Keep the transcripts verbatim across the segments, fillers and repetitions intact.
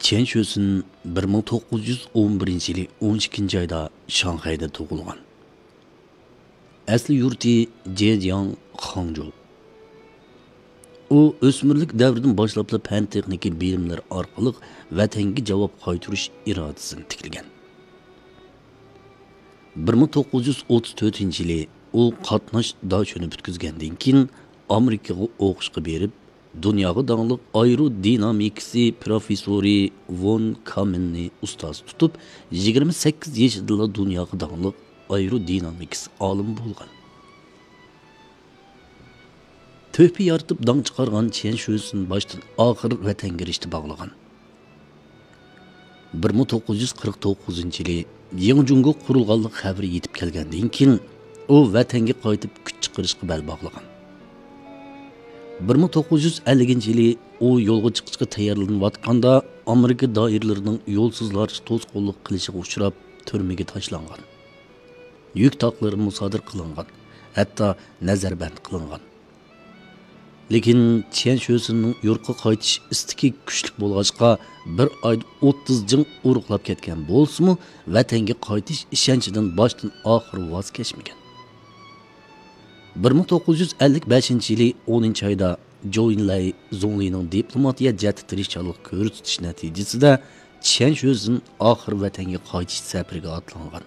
چيەن شۆسۈن بىر مىڭ توققۇز يۈز ئون بىرىنچى يىلى ئون ئىككىنچى ئايدا شاڭخەيدە تۇغۇلغان. ئەسلى يۇرتى جېجياڭ، خاڭجۇ. ئۇ ئۆسمۈرلۈك دەۋرىدىن باشلاپلا پەن-تېخنىكا بىلىملىرى ئارقىلىق ۋەتەنگە جاۋاب قايتۇرۇش ئىرادىسىنى تىكلىگەن. بىر مىڭ توققۇز يۈز ئوتتۇز تۆتىنچى يىلى ئۇ قاتناش داشۆنى پۈتكۈزگەندىن كېيىن، ئامېرىكىغا ئوقۇشقا بېرىپ، دۇنياغا داڭلىق ئايرودىنامىكىسى پروفېسسورى ۋون كامېننى ئۇستاز تۇتۇپ، يىگىرمە سەككىز يېشىدىلا دۇنياغا داڭلىق ئايرودىنامىكىس ئالىمى بولغان. تۆھپە يارىتىپ داڭ چىقارغان چيەن شۆسۈن باشتىن ئاخىر ۋەتەنگە رىشتە باغلىغان. بىر مىڭ توققۇز يۈز قىرىق توققۇزىنچى يىلى يېڭى جۇڭگو قۇرۇلغانلىق خەۋىرى يېتىپ كەلگەندىن كېيىن، ئۇ ۋەتەنگە قايتىپ كۈچ چىقىرىشقا بەل باغلىغان. بىر مىڭ توققۇز يۈز ئەللىكىنچى يىلى ئۇ يولغا چىقىشقا تەييارلىنىۋاتقاندا، ئامېرىكا دائىرىلىرىنىڭ يولسۇزلارچە توسقۇنلۇق قىلىشىغا ئۇچراپ، تۈرمىگە تاشلانغان. يۈك تاقلىرى مۇسادىرە قىلىنغان، ھەتتا نەزەربەند قىلىنغان. لېكىن چيەن شۆسۈننىڭ يۇرتقا قايتىش ئىستىكى كۈچلۈك بولغاچقا، بىر ئايدا ئوتتۇز جىڭ ئورۇقلاپ كەتكەن بولسىمۇ، ۋەتەنگە قايتىش ئىشەنچىدىن باشتىن ئاخىر ۋاز كەچمىگەن. بىر مىڭ توققۇز يۈز ئەللىك بەشىنچى يىلى ئونىنچى ئايدا جوۋ ئېنلاي زۇڭلىنىڭ دىپلوماتىيە جەھەتتە تىرىشچانلىق كۆرسىتىشى نەتىجىسىدە، چيەن شۆسۈن ئاخىر ۋەتەنگە قايتىش سەپىرىگە ئاتلانغان.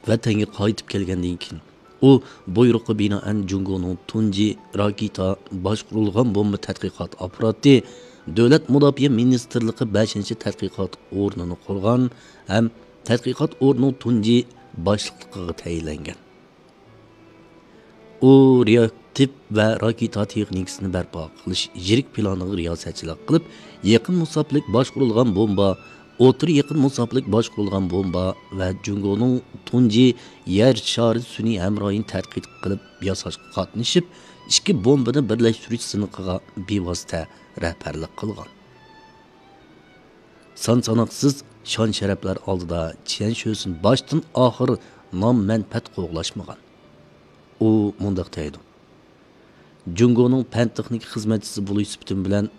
ۋەتەنگە قايتىپ كەلگەندىن كېيىن، ئۇ بۇيرۇققا بىنائەن جۇڭگونىڭ تۇنجى راكېتا باشقۇرۇلغان بومبا تەتقىقات ئاپپاراتى، دۆلەت مۇداپىئە مىنىستىرلىقى بەشىنچى تەتقىقات ئورنىنى قۇرغان ھەم تەتقىقات ئورنىنىڭ تۇنجى باشلىقلىقىغا تەيىنلەنگەن. ئۇ رېئاكتىپ ۋە راكېتا تېخنىكىسىنى بەرپا قىلىش يىرىك پىلانىغا رىياسەتچىلىك قىلىپ، يېقىن مۇساپىلىك باشقۇرۇلغان بومبا، ئوتتۇرا يېقىن مۇساپىلىك باشقۇرۇلغان بومبا ۋە جۇڭگونىڭ تۇنجى يەر شارى سۈنئىي ھەمراھىنى تەتقىق قىلىپ ياساشقا قاتنىشىپ، ئىككى بومبىنى بىرلەشتۈرۈش سىنىقىغا بىۋاسىتە رەھبەرلىك قىلغان. سان ساناقسىز شان-شەرەپلەر ئالدىدا چيەن شۆسۈن باشتىن ئاخىر نام-مەنپەئەت قوغلاشمىغان. ئۇ مۇنداق دەيدۇ: «جۇڭگونىڭ پەن-تېخنىكا خىزمەتچىسى بولۇش سۈپىتىم بىلەن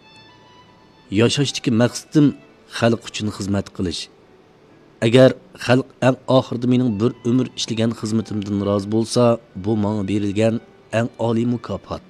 ياشاشتىكى مەقسىتىم خەلق ئۈچۈن خىزمەت قىلىش. ئەگەر خەلق ئەڭ ئاخىرىدا مېنىڭ بىر ئۆمۈر ئىشلىگەن خىزمىتىمدىن رازى بولسا، بۇ ماڭا بېرىلگەن ئەڭ ئالىي مۇكاپات.